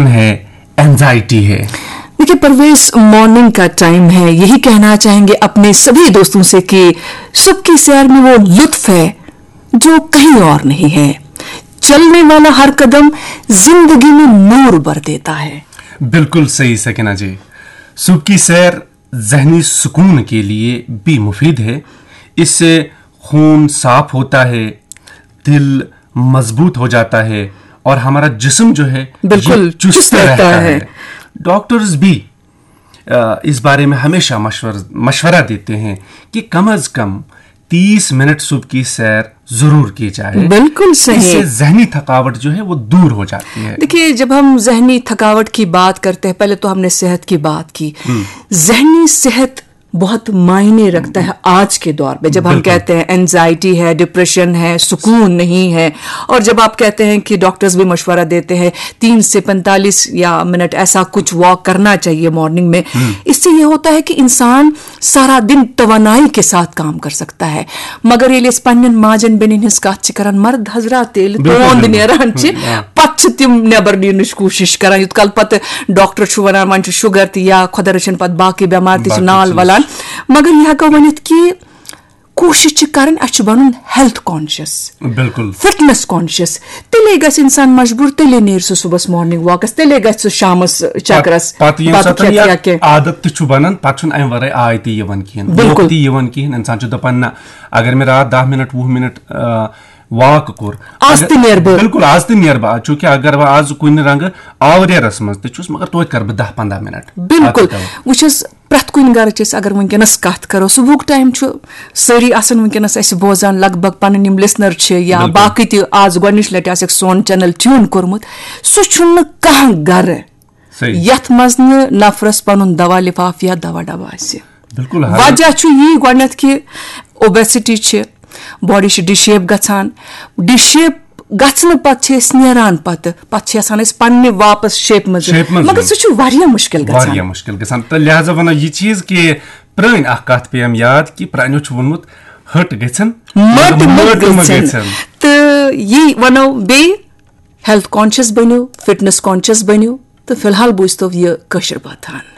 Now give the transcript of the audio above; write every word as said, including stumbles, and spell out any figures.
है, एंजाइटी है। देखिए परवेज, मॉर्निंग का टाइम है, यही कहना चाहेंगे अपने सभी दोस्तों से कि सुबह की सैर में वो लुत्फ है जो कहीं और नहीं है। चलने वाला हर कदम जिंदगी में नूर भर देता है। बिल्कुल सही सकीना जी। सुबह की सैर जहनी सुकून के लिए भी मुफीद है। इससे खून साफ होता है, दिल मजबूत हो जाता है और हमारा जिस्म जो है बिल्कुल ये चुस्त चुस्त रहता रहता है। है। डॉक्टर्स भी अ, इस बारे में हमेशा मशवर मशवरा देते हैं कि कम अज कम तीस मिनट सुबह की सैर जरूर की जाए। बिल्कुल सही। इससे जहनी थकावट जो है वो दूर हो जाती है। देखिए, जब हम जहनी थकावट की बात करते हैं, पहले तो हमने सेहत की बात की। जहनी सेहत बहुत मायने रखता है आज के दौर में, जब हम बिल्कुल। कहते हैं एंजाइटी है, डिप्रेशन है, सुकून नहीं है। और जब आप कहते हैं कि डॉक्टर्स भी मशवरा देते हैं तीन से पैंतालीस या मिनट ऐसा कुछ वॉक करना चाहिए मॉर्निंग में। इससे ये होता है कि इंसान सारा दिन तवानाई के साथ काम कर सकता है। मगर ये पन्नन माजन बेनिन हिंस कत करन मर्द हजरात तेल बिल्कुल, तोंद बिल्कुल। नेरान च हम्म, हाँ। پتہٕ چھِ تِم نٮ۪بر نیرنٕچ کوٗشِش کران، یُتھ کال پتہٕ ڈاکٹر چھُ ونان وۄنۍ چھُ شugger تہِ یا خۄدا رٔچھِن پتہٕ باقٕے بٮ۪مارِ تہِ چھِ باقٕے نال چیٖز۔ ولان۔ مگر یہِ ہٮ۪کو ؤنِتھ کہِ کوٗشِش چھِ کرٕنۍ اَسہِ چھُ بنُن ہیلتھ کانشیس، بالکل۔ Fitness conscious. تیٚلے گژھِ انسان مجبوٗر، تیٚلے نیرِ سُہ صُبحس مارننگ واکس، تیٚلے گژھِ سُہ شامس چکرس پتہٕ ییٚمہِ بتہٕ ساتہٕ کھٮ۪تھ یہِ یا کینٛہہ۔ عادت تہِ چھُ بنان، پتہٕ چھُنہٕ امہِ ورٲے آے تہِ یِوان کِہیٖنۍ۔ بالکل۔ موقعہٕ تہِ یِوان کِہیٖنۍ۔ انسان چھُ دپان نہ، اگر مےٚ راتھ دَہ مِنٹ، وُہ مِنٹ، آ، واک کوٚر، آز اگر- تہِ نیرٕ بہٕ۔ بالکل، آز تہِ نیرٕ بہٕ۔ چوٗنٛکہِ اگر بہٕ آز کُنہِ رنٛگہٕ آورٮ۪رس منٛز تہِ چھُس، مگر توتہِ کرٕ بہٕ دَہ پنٛداہ مِنٹ۔ بالکل۔ اَتھ تہِ کرٕ۔ وٕچھ حظ، پرٛٮ۪تھ کُنہِ گرٕچ أسۍ اگر وٕنکیٚنس کتھ کرو، صبحُک ٹایم چھُ سٲری آسان وٕنکیٚنس اَسہِ بوزان، لگ بگ پنٕنۍ یِم لسنر چھِ یا بالکل۔ باقٕے تہِ آز گۄڈٕنِچ لٹہِ آسٮ۪کھ سون چینل ٹیوٗن کوٚرمُت، سُہ چھُنہٕ کانٛہہ گرٕ صحیح۔ یتھ منٛز نہٕ نفرس پنُن دوا لفاف یا دوا ڈبہٕ آسہِ۔ بالکل، ہر- وجہ چھُ یی گۄڈٕنیتھ کہِ اوبیسٹی چھِ، باڈی چھِ ڈِشیپ گژھان، ڈِشیپ گژھنہٕ پتہٕ چھِ أسۍ نیران پتہٕ، پتہٕ چھِ آسان أسۍ پننہِ واپس شیپ منٛز، شیپ منٛز۔ مگر سُہ چھُ واریاہ مُشکل گژھان۔ واریاہ مُشکل گژھان۔ تہٕ لہذا ونو یہِ چیٖز کہِ پرٲنۍ اکھ کتھ پیٚیَم یاد کہِ پرٛانیو چھُ ووٚنمُت، ہٹ گژھن، مٔٹ مٔٹ مٔٹ مٔٹ گژھن۔ گژھن۔ تہٕ یی ونو بیٚیہِ، ہیلتھ کانشیس بٔنِو، فٹنس کانشیس بٔنِو، تہٕ فی الحال بوٗزتو یہِ کٲشِر بٲتھ ہن۔